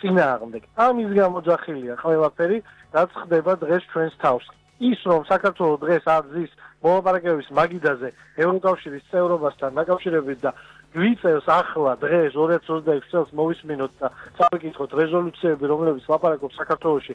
წინააღმდეგ. ამის გამოძახილია ყველაფერი, რაც ხდება დღეს ჩვენს თავს. ის რომ საქართველოს დღეს აძის მოლაპარაკებების მაგიდაზე ევროკავშირის წევრობასთან დაკავშირებით და გვიწევს ახლა დღეს 2026 წელს მოვისმინოთ და წავიკითხოთ რეზოლუციები, რომლებიც ლაპარაკობს საქართველოში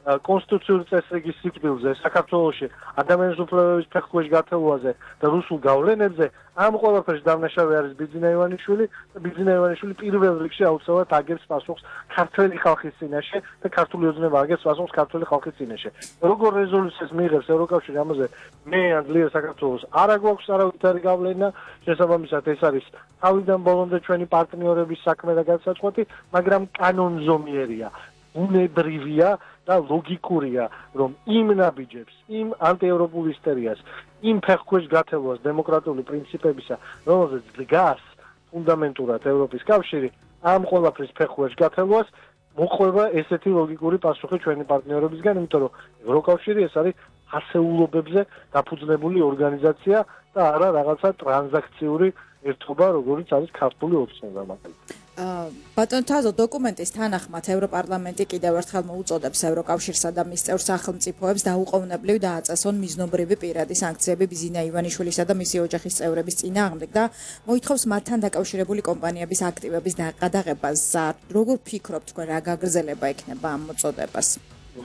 კონსტიტუციური წესრიგის სიკვდილზე, საქართველოში ადამიანის უფლებების ფეხქვეშ გათხოვაზე და რუსულ გავლენებზე, ამ ყველაფერს დამნაშავე არის ბიძინა ივანიშვილი და ბიძინა ივანიშვილი პირველ რიგში აუცილებლად აგებს პასუხს ქართველი ხალხის წინაშე და ქართული ოცნება აგებს პასუხს ქართული ხალხის წინაშე. როგორ რეზოლუციას მიიღებს ევროკავშირი ამაზე მე ან ძლიერ საქართველოს არა გვაქვს არავითარი გავლენა, შესაბამისად ეს არის თავიდან ბოლომდე ჩვენი პარტნიორების საქმე და განსაზღვრება, მაგრამ კანონზომიერია, უნებრივია და ლოგიკურია, რომ იმ ნაბიჯებს, იმ ანტიევროპულ ისტორიას, იმ ფეხქვეშ გათხოვას დემოკრატიული პრინციპებისა, რომელზეც დგას ფუნდამენტურად ევროპის კავშირი, ამ ყველაფრის ფეხქვეშ გათხოვას მოყვება ესეთი ლოგიკური პასუხი ჩვენი პარტნიორებისგან, იმიტომ რომ ევროკავშირი ეს არის ასეულობებზე დაფუძნებული ორგანიზაცია და არა რაღაცა ტრანზაქციური ერთობა, როგორიც არის ქართული ოცნება მაგალითად. ბატონ თაზო, დოკუმენტის თანახმად ევროპარლამენტი კიდევ ერთხელ მოუწოდებს ევროკავშირსა და მის წევრ სახელმწიფოებს დაუყოვნებლივ დააწესონ მიზნობრივი პირადი სანქციები ბიძინა ივანიშვილისა და მისი ოჯახის წევრების წინააღმდეგ და მოითხოვს მათთან დაკავშირებული კომპანიების აქტივების გადაღებას. როგორ ფიქრობთ თქვენ, რა გაგრძელება ექნება ამ მოწოდებას?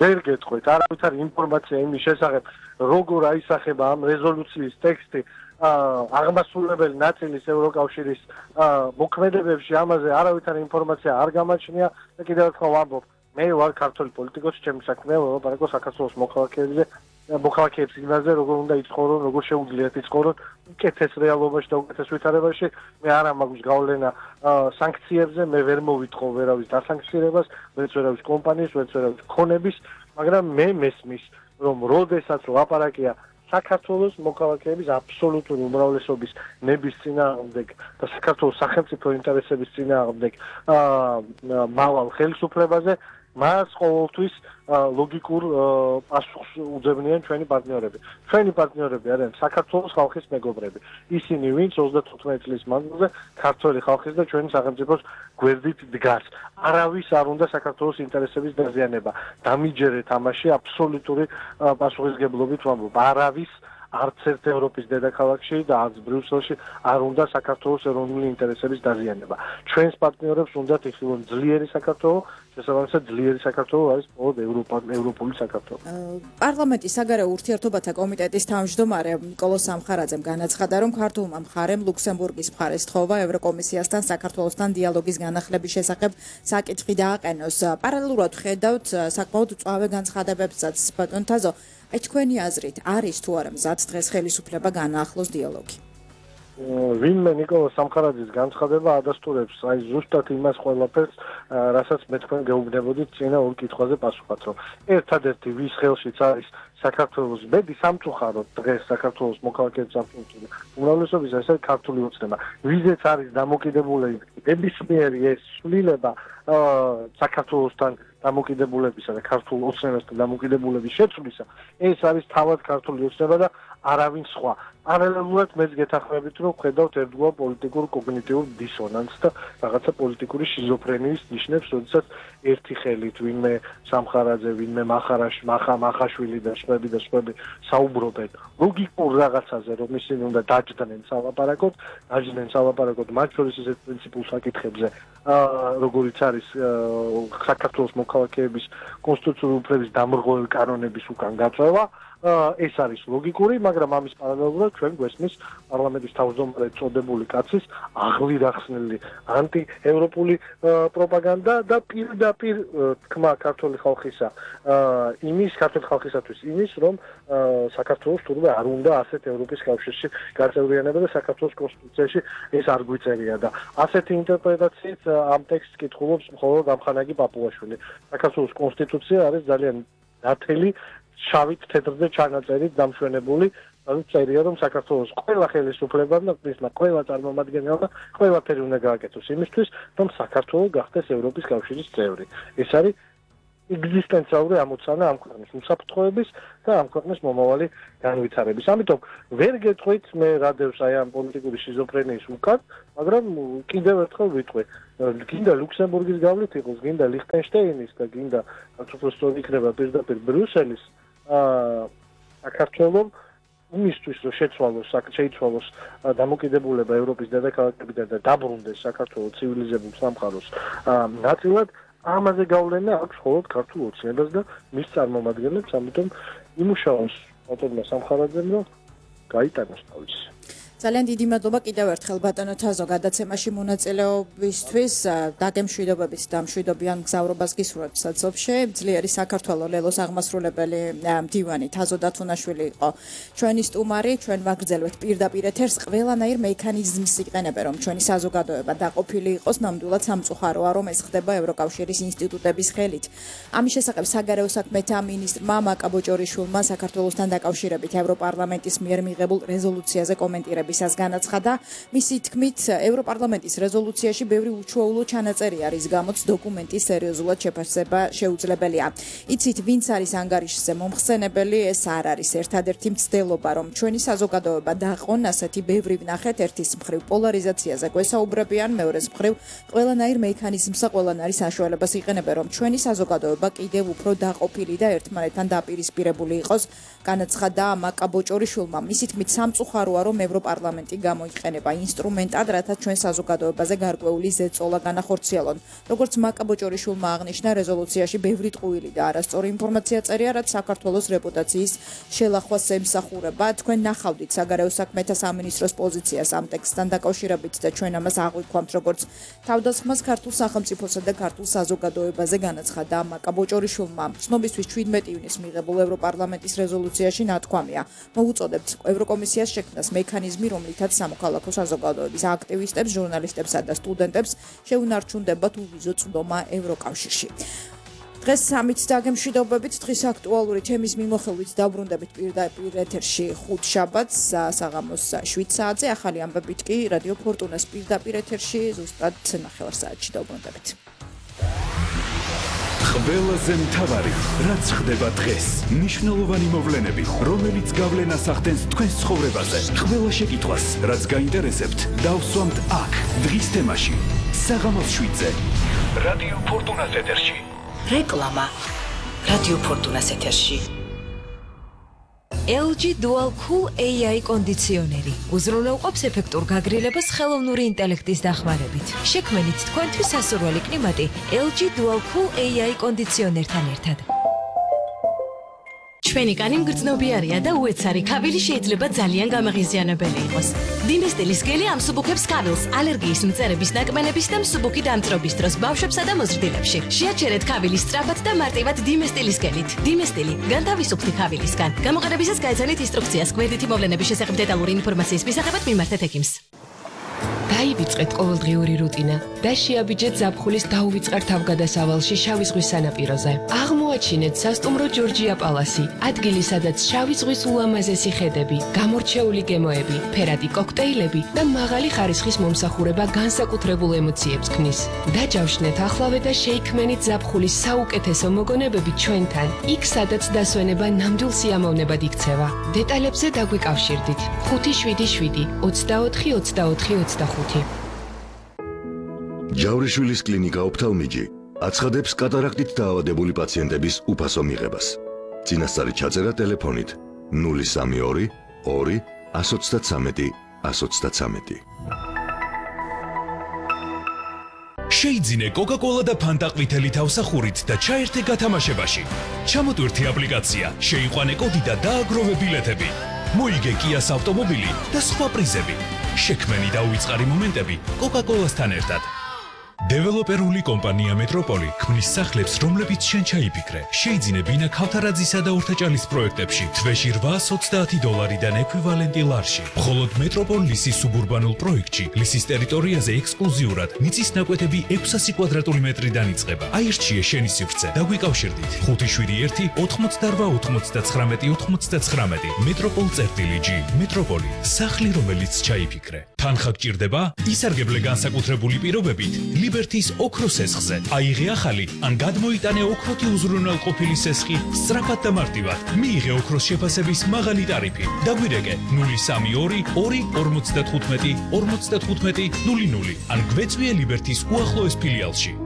ვერ გეტყვით, არავითარი ინფორმაცია იმის შესახებ, როგორ აისახება ამ რეზოლუციის ტექსტი აღმასრულებელი ნაწილის ევროკავშირის მოქმედებებში, ამაზე არავითარი ინფორმაცია არ გამაჩნია და კიდევ ერთხელ ვამბობ, მე ვარ ქართული პოლიტიკოსი, ჩემი საქმეა ველაპარაკო საქართველოს მოქალაქეების იმაზე, როგორ უნდა იცხოვრონ, როგორ შეუძლიათ იცხოვრონ უკეთეს რეალობაში და უკეთეს ვითარებაში. მე არა მაქვს გავლენა სანქციებზე, მე ვერ მოვიტყო ვერავის დასანქცირებას, ვერც ვერავის კომპანიის, ვერც ვერავის ქონების, მაგრამ მე მესმის, რომ როდესაც ლაპარაკია საქართველოს მოქალაქეების აბსოლუტური უმრავლესობის ნების წინააღმდეგ და საქართველოს სახელმწიფო ინტერესების წინააღმდეგ მავალ ხელისუფლებაზე, მას ყოველთვის ლოგიკურ პასუხს უძებნიან ჩვენი პარტნიორები. ჩვენი პარტნიორები არიან საქართველოს ხალხის მეგობრები. ისინი, ვინც 35 წლის მანძილზე ქართველი ხალხის და ჩვენი სახელმწიფოს გვერდით დგას. არავის არ უნდა საქართველოს ინტერესების დაზიანება. დამიჯერეთ ამაში აბსოლუტური პასუხისგებლობით ვამბობ. არავის არც ერთ ევროპის დედაქალაქში და არც ბრიუსელში არ უნდა საქართველოს ეროვნული ინტერესების დაზიანება. ჩვენს პარტნიორებს უნდათ იხილონ ძლიერი საქართველო, შესაბამისად ძლიერი საქართველო არის მხოლოდ ევროპული საქართველო. პარლამენტის საგარეო ურთიერთობათა კომიტეტის თავმჯდომარე ნიკოლოზ სამხარაძემ განაცხადა, რომ ქართულმა მხარემ ლუქსემბურგის მხარეს თხოვა ევროკომისიასთან საქართველოსთან დიალოგის განახლების შესახებ საკითხი დააყენოს. პარალელურად ხედავთ საკმაოდ მწვავე განცხადებებსაც. ბატონ თაზო, აი თქვენი აზრით არის თუ არა მზად დღეს ხელისუფლება განაახლოს დიალოგი? ვინმე ნიკოლოზ სამხარაძის განცხადება ადასტურებს აი ზუსტად იმას ყველაფერს, რასაც მე თქვენ გეუბნებოდით წინა ორ კითხვაზე პასუხად, რომ ერთადერთი ვის ხელშიც არის საქართველოს ბედი სამწუხაროდ დღეს საქართველოს მოქალაქეების აბსოლუტური უმრავლესობის ეს არის ქართული ოცნება. ვიზეც არის დამოკიდებული ნებისმიერი ეს ცვლილება საქართველოსთან დამოკიდებულებისა და ქართულ ოცნებასთან დამოკიდებულების შეცვლისა, ეს არის თავად ქართული ოცნება და არავინ სხვა. პარალელურად მეც გეთანხმებით, რომ ხედავთ ერთგვარ პოლიტიკურ კოგნიტიურ დისონანსს და რაღაცა პოლიტიკური შიზოფრენიის ნიშნებს, როდესაც ერთი ხელით ვინმე სამხარაძე, ვინმე მახაშვილი და სხვები საუბრობენ ლოგიკურ რაღაცაზე, რომ ისინი უნდა დაჯდნენ სალაპარაკოდ, მათ შორის ისეთ პრინციპულ საკითხებზე, როგორიც არის საქართველოს მოქალაქეების კონსტიტუციური უფლების დამრღვევი კანონების უკან გაწევა. ეს არის ლოგიკური, მაგრამ ამის პარალელურად ჩვენ გვესმის პარლამენტის თავმჯდომარე წოდებული კაცის აღლი რახსნილი ანტიევროპული პროპაგანდა და პირდაპირ თქმა ქართული ხალხისათვის იმის, რომ საქართველოს თურმე არ უნდა ასეთ ევროპის კავშირში გაწევრიანება და საქართველოს კონსტიტუციაში ეს არ გვიწერია და ასეთი ინტერპრეტაციით ამ ტექსტს კითხულობს მხოლოდ ამხანაგი პაპუაშვილი. საქართველოს კონსტიტუცია არის ძალიან ნათელი შავით თეთრზე ჩანაწერით დამშვენებული, ანუ წერია, რომ საქართველოს ყველა ხელისუფლებამ და მისმა ყველა წარმომადგენელმა ყველაფერი უნდა გააკეთოს იმისთვის, რომ საქართველო გახდეს ევროპის კავშირის წევრი. ეს არის ეგზისტენციალური ამოცანა ამ ქვეყნის უსაფრთხოების და ამ ქვეყნის მომავალი განვითარების. ამიტომ ვერ გეტყვით მე რადევს აი ამ პოლიტიკური შიზოფრენიის უკან, მაგრამ კიდევ ერთხელ ვიტყვი, გინდა ლუქსემბურგის გავლით იყოს, გინდა ლიხტენშტაინის და გინდა უბრალოდ იქნება პირდაპირ ბრიუსელის საქართველოს იმისთვის რომ შეიცვალოს დამოკიდებულება ევროპის დედაქალაქებიდან და დაბრუნდეს საქართველოს ცივილიზებულ სამყაროს ნაწილად ამაზე გავლენა აქვს მხოლოდ ქართულ ოცნებას და მის წარმომადგენლებს, ამიტომ იმუშაოს ბატონმა სამხარაძემ რომ გაიტანოს თავისი. ძალიან დიდი მადლობა კიდევ ერთხელ ბატონო თაზო გადაცემაში მონაწილეობისთვის. დაგემშვიდობებით და მშვიდობიან მგზავრობას გისურვებთ საცობში. ძლიერი საქართველოს ლელოს აღმასრულებელი მდივანი თაზო დათუნაშვილი იყო ჩვენი სტუმარი. ჩვენ ვაგრძელებთ პირდაპირ ეთერს. ყველანაირ მექანიზმს იყენებენ რომ ჩვენი საზოგადოება დაყოფილი იყოს. ნამდვილად სამწუხაროა რომ ეს ხდება ევროკავშირის ინსტიტუტების ხელით. ამის შესახებ საგარეო საქმეთა მინისტრმა მაკაბოჭორიშვილმა საქართველოსთან დაკავშირებით ევროპარლამენტის მიერ მიღებულ რეზოლუციაზე კომენტირებისას განაცხადა. მისი თქმით, ევროპარლამენტის რეზოლუციაში ბევრი უჩვეულო ჩანაწერი არის, გამოც დოკუმენტის სერიოზულად შეფასება შეუძლებელია. იცით, ვინც არის ანგარიშზე მომხსენებელი, ეს არ არის ერთადერთი მცდელობა, რომ ჩვენი საზოგადოება დაყონ, ასეთი ბევრი ვნახეთ, ერთის მხრივ პოლარიზაციაზე გვესაუბრებიან, მეორეს მხრივ ყველანაირ მექანიზმს და ყველანაირ საშუალებას იყენებენ, რომ ჩვენი საზოგადოება კიდევ უფრო დაყოფილი და ერთმანეთთან დაპირისპირებული იყოს. განაცხადა მაკაბოჭორიშვილმა. მისი თქმით, სამწუხაროა, რომ ევროპარლამენტი გამოიყენება ინსტრუმენტად, რათა ჩვენ საზოგადოებაზე გარკვეული ზეწოლა განახორციელონ. როგორც მაკაბოჭორიშვილმა აღნიშნა, რეზოლუციაში ბევრი ტყუილი და არასწორი ინფორმაცია წერია, რაც საქართველოს რეპუტაციის შელახვას ემსახურება. თქვენ ნახავდით საგარეო საქმეთა სამინისტროს პოზიციას ამ ტექსტთან დაკავშირებით და ჩვენ ამას აღვიქვამთ, როგორც თავდასხმას ქართულ სახელმწიფოსა და ქართულ საზოგადოებაზე განაცხადა მაკაბოჭორიშვილმა. ცნობისთვის 17 ივნისს მიღებულ ევროპარლამენტის რეზოლუციაში ნათქვამია. მოუწოდებთ ევროკომისიას შექმნას მექანიზმი, რომლითაც სამოქალაქო საზოგადოების აქტივისტებს, ჟურნალისტებსა და სტუდენტებს შეუნარჩუნდებათ უვიზო წვდომა ევროკავშირში. დღეს ამით დაგემშვიდობებით, დღის აქტუალური თემის მიმოხილვით დაბრუნდებით პირდაპირ ეთერში ხუთშაბათს საღამოს 7 საათზე, ახალი ამბებით კი რადიო ფორტუნას პირდაპირ ეთერში ზუსტად 9 საათში დაბრუნდებით. ყველაზე მთავარი, რაც ხდება დღეს, მნიშვნელოვანი მოვლენები, რომელიც გავლენას ახდენს თქვენს ცხოვრებაზე, ყველა შეკითხვას, რაც გაინტერესებთ, დავსვამთ აქ, დღის თემაში, საღამოს 7-ზე, რადიო ფორტუნას ეთერში. რეკლამა რადიო ფორტუნას ეთერში. LG Dual Cool AI კონდიციონერი უზრუნველყოფს ეფექტურ გაგრილებას ხელოვნური ინტელექტის დახმარებით. შექმნით თქვენთვის სასურველი კლიმატი LG Dual Cool AI კონდიციონერთან ერთად. ჩვენი კანი მგრძნობიარია და უეცარი ქავილი შეიძლება ძალიან გამაღიზიანებელი იყოს. დიმესტილის გელი ამსუბუქებს ქავილს ალერგიის მწერების ნაკმენების და მსუბუქი დამწრობის დროს ბავშვებსა და მოზრდილებში. შეაჩერეთ ქავილი სწრაფად და მარტივად დიმესტილის გელით. დიმესტილი განთავისუფლდი ქავილისგან. გამოყენებისას გაეცანით ინსტრუქციას. გვერდითი მოვლენების შესახებ დეტალური ინფორმაციის მისაღებად მიმართეთ ექიმს. დაივიწყეთ ყოველდღიური რუტინა და შეაბიჯეთ ზაფხულის დაუვიწყარ თავგადასავალში შავი ზღვის სანაპიროზე. აღმოაჩინეთ სასტუმრო ჯორჯია პალასი, ადგილი სადაც შავი ზღვის ულამაზესი ხედები, გამორჩეული გემოები, ფერადი კოქტეილები და მაღალი ხარისხის მომსახურება განსაკუთრებულ ემოციებს ქმნის. დაჯავშნეთ ახლავე და შეიქმნით ზაფხულის საუკეთესო მოგონებები ჩვენთან, იქ სადაც დასვენება ნამდვილ სიამოვნებად იქცევა. დეტალებზე დაგვიკავშირდით 577 24 24 25. ჯავრიშვილის კლინიკა ოფთალმიჯი აცხადებს კატარაქტით დაავადებული პაციენტების უფასო მიღებას. წინასწარი ჩაწერა ტელეფონით 032 2 133 133. შეიძინე კოკა-კოლა და ფანტა ყვითელი თავსახურით და ჩაერთე გათამაშებაში. ჩამოტვირთი აპლიკაცია, შეიყვანე კოდი და დააგროვე ბილეთები. მოიგე კიას ავტომობილი და სხვა პრიზები. შექმენი და უიწყარი მომენტები კოკა-კოლასთან ერთად. დეველოპერული კომპანია მეტროპოლი ქმნის სახლებს, რომლებიც შენ ჩაიფიქრე. შეიძინე ბინა ქავთარაძისა და ორთაჭალის პროექტებში თვეში $820-დან ექვივალენტი ლარში. მხოლოდ მეტროპოლ ლისის სუბურბანულ პროექტში ლისის ტერიტორიაზე ექსკლუზიურად მიწის ნაკვეთები 600 კვადრატული მეტრიდან იწყება. აირჩიე შენი სივრცე და გვიკავშირდით 571 88 99 99. მეტროპოლ.g. მეტროპოლი, სახლი, რომელიც ჩაიფიქრე. თანხა გჭირდება? ისარგებლე განსაკუთრებული პირობებით ლიბერთის ოქროს სესხზე. აიღე ახალი ან გადმოიტანე ოქროთი უზრუნველყოფილი სესხი სწრაფად და მარტივად. მიიღე ოქროს შეფასების მაღალი ტარიფი. დაგვირეკე 032 2 55 55 00 ან გვეწვიე ლიბერთის უახლოეს ფილიალში.